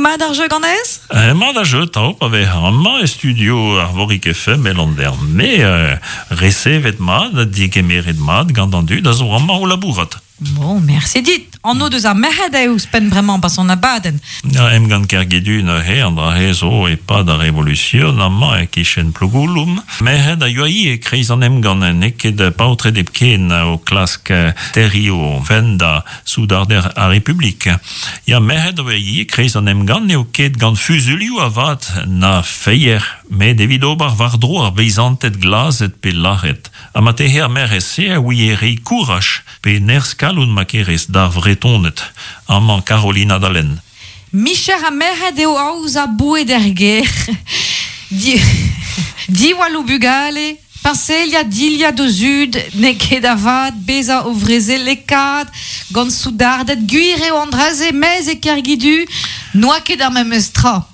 Mat ar jeu ganez? Mat ar jeu 'tav pa vez amañ e studio Arvorig FM e Landerne, resevet mat, digemeret mat gant an dud a zo amañ o labourat. Bon, merci dit. Anv deus ar merc'hed eo ouzhpenn bremañ pas an abadenn. Ya, emgann Kergidu neuze, an dra-se zo e-pad ar Revolusion amañ e-kichen Plougouloum. Merc'hed a yoa ivez e-kreiz an emgann, n'eo ket paotred hepken o klask terriñ o fenn da soudarder ar Republik. Ya, merc'hed a oa ivez e-kreiz an emgann, n'eo ket gant fuzuilhoù avat na feier, met evit ober war-dro ar beizanted glazet pe lazhet. Ha marteze ar merc'hed-se a ouie reiñ kouraj pe nerzh-kalon ma kerez d'ar Vretoned. Amañ Carolina da lenn. Micher ha merc'hed eo aozañ boued er gêr, diwall o bugale, peñseliañ dilhad o zud, n'eo ket avat bezañ o vrezelekaat gant soudarded. Gwir eo an dra-se, mes e Kergidu n'oa ket ar memes tra.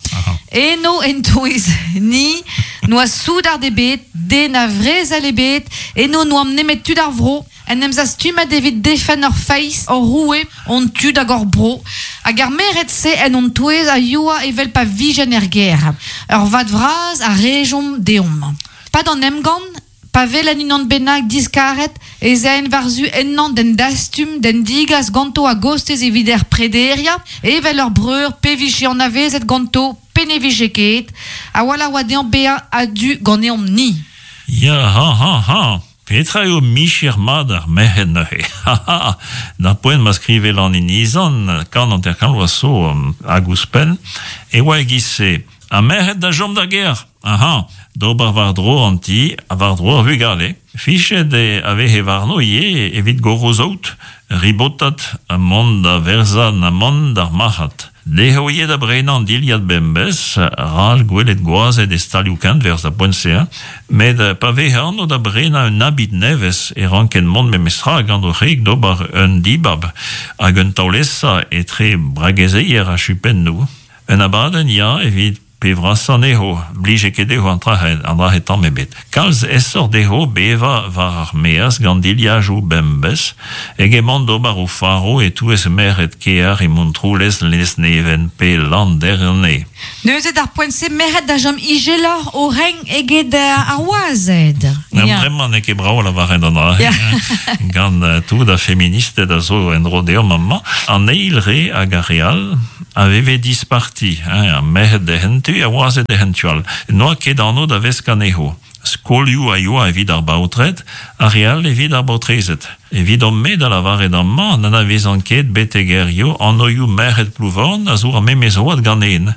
Eno en-touez ni n'oa soudard ebet, den a vrezel ebet, eno n'oamp nemet tud ar vro, en em zastumet evit defenn hor feiz, hor roue, hon tud hag hor bro, hag ar merc'hed-se en hon touez a yoa evel pa vijent er gêr. Ur vad vras a rejomp deomp. Pad an emgann, pa welen unan bennak diskaret, ez aen war-zu ennañ d'en dastum, d'en digas ganto a-gostez evit er prederiañ, evel ur breur pe vije anavezet ganto pe ne vije ket, a-walc'h oa dezhañ bezañ a-du ganeomp-ni. Ya, ha, ha, ha! Petra eo micher mat ar merc'hed neuze? Ha, ha! D'ar poent ma skrive Lan Inizan, 150 vloaz zo hag ouzhpenn, e oa e-giz-se. Ha merc'hed da chom d'ar gêr! Aha! D'ober war-dro an ti ha war-dro ar vugale. Fichet a veze warno ivez evit goro-saout, ribotat ha mont da werzhañ an amann d'ar marc'had. Dezho ivez da brenañ an dilhad bemdez, ral gwelet gwazed e stalioù-kenwerzh da poent-se, hein. Met pa veze anv da brenañ un abid nevez e rankent mont memestra gant o c'hreg d'ober un dibab hag un taol-esa etre bragezeier ha chupennoù. Un abadenn, ya, evit pe vrasañ anezho, blije ket dezho an dra-se tamm ebet. Kalz aesoc'h dezho bevañ war ar maez gant dilhajoù bemdez eget mont d'ober o faro e-touez merc'hed kêr e Montroulez, Lesneven pe Landerne. Neuze d'ar poent-se merc'hed da chom izeloc'h o renk eget ar wazed. Bremañ n'eo ket brav lavaret an dra-se, gant tout ar feministed a zo en-dro deomp amañ. An eil re hag ar re all a veve disparti, hein, ar merc'hed d'he hentu, ar wazed d'he hentu all. N'oa ket anv da veskañ anezho. Skolioù a yoa evit ar baotred, ar re all evit ar baotrezed. Evidon-me da lavaret amañ n'anavezan ket betek hiziv anvioù merc'hed Plouvorn a zo ar memes oad ganen.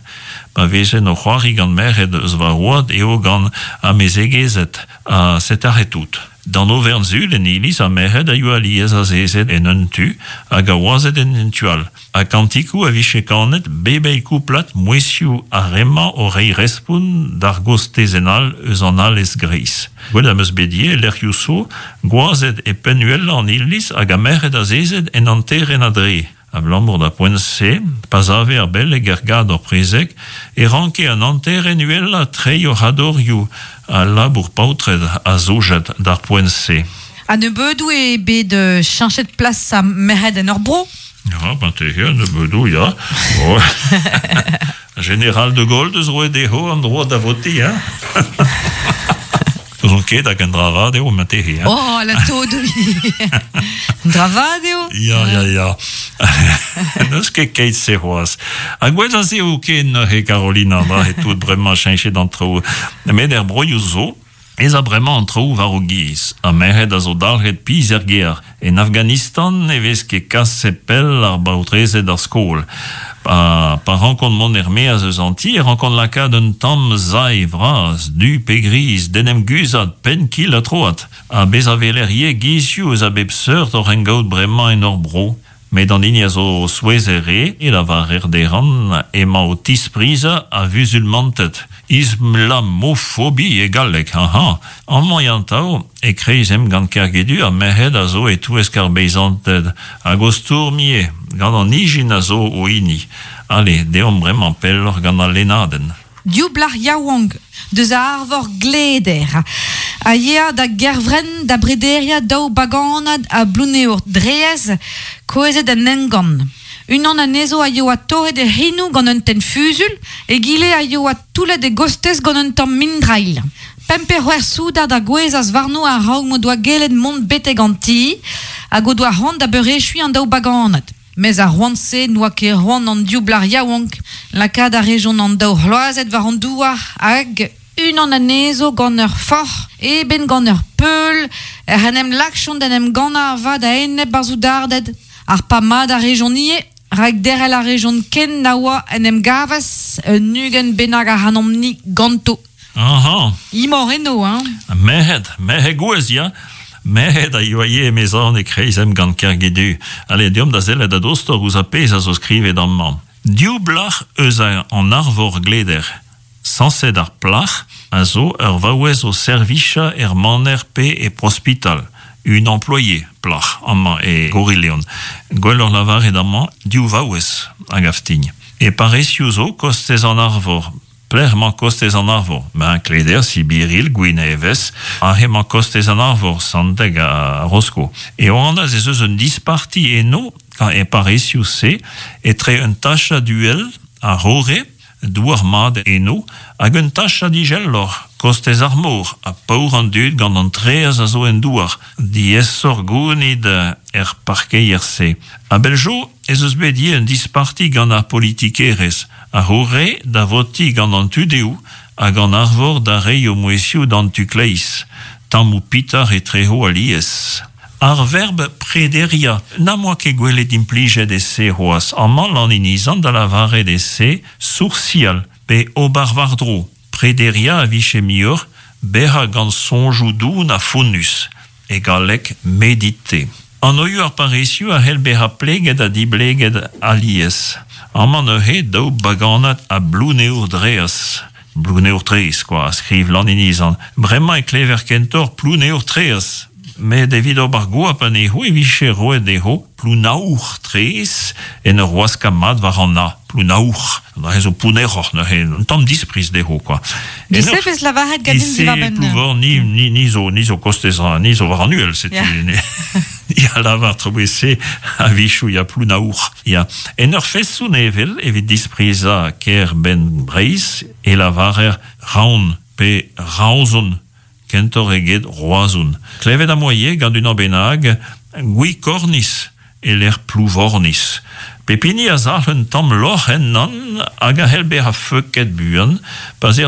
Pa vezen o c'hoari gant merc'hed eus va oad eo gant amezegezed ha setaret tout. D'an overn-sul en iliz ar merc'hed a yoa alies azezet en un tu hag ar wazed en un tu all. Ha kantikoù a vije kanet bep eil kouplad mouezhioù ar re-mañ o reiñ respont d'ar gostezenn all eus an alez greiz. Gwelet am eus bet ivez e lec'hioù zo gwazed e penn uhelañ an iliz hag ar merc'hed azezet en hanterenn a-dre. Abalamour d'ar poent-se, pa save ar beleg er gador-prezeg, e ranke an hanterenn uhelañ treiñ o c'hadorioù ha labour paotred a zojed d'ar poent-se. A-nebeudoù eo bet cheñchet plas ar merc'hed en hor bro. Ya, marteze a-nebeudoù, ya. Oh. General de Gaulle deus roet dezho an droad da votiñ, hein? N'ouzon ket hag un dra vat eo marteze. Hein? Oh, la tod Un dra vat eo Ya, ya, ya. N'eus ket keit-se c'hoazh. Ha gwell a se eo ken neuze, Carolina, dra e tout bremañ cheñchet an traoù. Met er broioù zo, ez a bremañ an traoù war o giz. Ar merc'hed a zo dalc'het pizh er gêr. En Afghanistan ne vez ket kaset pell ar baotrezed d'ar skol. Pa, pa rankont mont er-maez eus an ti e rankont lakaat un tamm sae vras, du pe griz, d'en em guzhat penn-kil-ha-troad. Ha bezañ 'weler ivez gizioù eus a bep seurt oc'h engaout bremañ en hor bro. Met an hini a zo souezhet re e lavarer dezhan emañ o tisprizañ ar vuzulmanted. Islamofobie e galleg, hañ! Amañ atav, e-kreiz emgann Kergedu, ar merc'hed a zo e-touesk ar beizanted hag o stourm ivez gant an ijin a zo o hini. Ale, deomp bremañ pelloc'h gant al lennadenn. Div plac'h yaouank deus a arvor Gleder a yea da Gervrenn da brederiañ daou baganad a Blouneour-Draezh kouezhet en emgann. Unan anezho a yoa torret e c'henoù gant un tenn fusul, egile a yoa toullet e gostez gant un tamm mindrailh. Pemp pe c'hwec'h soudard a gouezhas warno a-raok m'o doa gellet mont betek an ti, hag o doa c'hoant da beurechuiñ an daou baganad. Mes ar c'hoant-se n'oa ket c'hoant an div blac'h yaouank. Lakaat a rejont an daou c'hloazet war an douar hag, unan anezho gant ur forc'h, eben gant ur peul, ec'h en em lakjont d'en em gannañ avat a-enep ar soudarded. Harpañ mat a rejont ivez, rak derc'hel a rejont ken na oa en em gavas un 20 bennak ac'hanomp-ni ganto. Aha. Imor eno, hein? Merc'hed, merc'hed gouez, ya. Merc'hed a yoa ivez emezan e-kreiz emgann Kergidu. Ale, deomp da sellet a-dostoc'h ouzh ar pezh a zo skrivet amañ. Div blac'h eus an arvor gleder. Sañset ar plac'h a zo ur vaouez o servichañ er maner pe e prospital. Un employé, plac'h, amañ e Gorileon. Gwelloc'h lavaret amañ div vaouez, a gav din. E parrezioù zo, kostez an arvor, Pelec'h emañ kostez an Arvor? Ben, Kleder, Sibiril, Gwinevez, aze emañ kostez an Arvor, Santeg ha Rosko. E anaz ez eus un disparti eno, e parrezioù-se, etre un tachad uhel, ar Rore, douar mat eno, hag un tachad izeloc'h, kostez ar mor, ha paour an dud gant an traezh a zo en douar, diaesoc'h gounid er parkeier-se. A-bell zo ez eus bet ivez un disparti gant ar politikerezh, ar C'hore da votiñ gant an tu-dehoù hag an Arvor da reiñ o mouezhioù d'an tu-kleiz, tammoù pitar etrezo alies. Ar verb prederiañ n'am boa ket gwelet implijet e-se c'hoazh, amañ Lan-Inizan da lavaret e-se soursial pe ober war-dro. Prederiañ a vije muioc'h bezañ gant soñjoù doun ha fonnus. E galleg méditer. Anoioù ar parrezioù a c'hell bezañ pleget ha dibleget alies. Amañ neuze daou baganad a Blouneour-Draezh. Blouneour-Traezh, kwa, a skriv Lan-Inizan. Bremañ e klever kentoc'h Plouneour-Traezh. Met evit ober goap anezho e vije roet dezho Plounaour-Traezh en ur waskañ mat war an A. Plounaour. Neuze zo pounneroc'h neuze, un tamm dispriz dezho kwa. Disef ez lavaret ganin diwar-benn. Plouvor, ni, ni, ni zo, ni zo kostez, ni zo war an uhel, setu. Yeah. Ni a lavar trobese a-wechoù ya Plounaour. Ya. En ur feson evel evit disprizañ kêr-benn Breizh e lavarer Raon pe Raozon kentoc'h eget Roazhon. Klevet am boa ivez gant unan bennak Gwikornis e-lec'h Plouvornis. Pep hini a zalc'h un tamm lorc'h ennan hag a c'hell bezañ feuket buan pa 'z